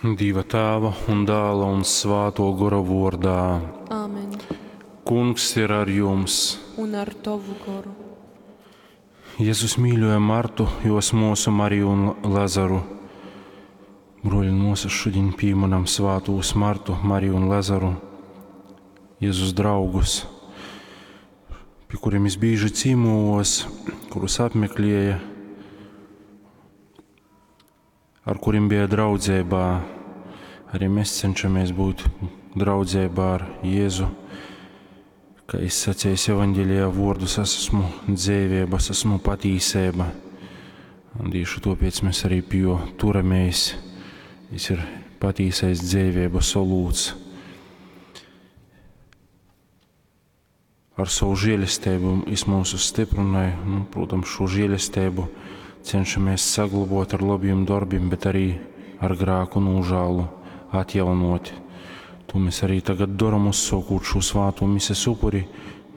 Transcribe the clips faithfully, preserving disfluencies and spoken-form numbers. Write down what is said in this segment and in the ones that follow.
Dieva Tēva un Dēla un Svāto Gora vordā. Āmen. Kungs ir ar jums. Un ar tovu goru. Jēzus mīļoja Martu, jos mūsu Mariju un Lazaru. Broļi un māsas, šodien pieminam svātos Martu, Mariju un Lazaru, Jēzus draugus, pie kuriem es bieži cīmojos, kurus apmeklēja, ar kuriem bija draudzībā. Arī mēs cenšamies būt draudzībā ar Jēzu. Kā es sacīju evanģēlijā vārdus, es esmu dzīvība, es esmu patīsība. Un tieši tāpēc mēs arī pie jo turamies. Viņš ir patīsais dzīvības solūts. Ar savu žēlastību viņš mūs stiprināja. Nu, protams, šo žēlastību cenšamies saglabāt ar labiem darbiem, bet arī ar grēku nožēlu atjaunot. To mēs arī tagad darām, uzsākot šo svāto mises upuri,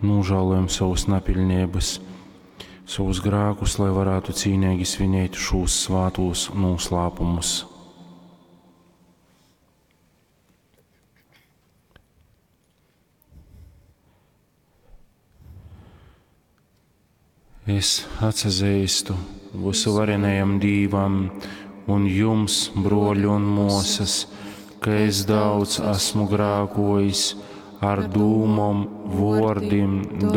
nožēlojam savus napilnības, savus grēkus, lai varētu cīnīgi svinēt šos svātos noslēpumus. Es atsazīstu visuvarenajam Dīvam un jums, broļi un mūsas, ka es daudz esmu grēkojis ar dūmom, vārdiem, darbiem.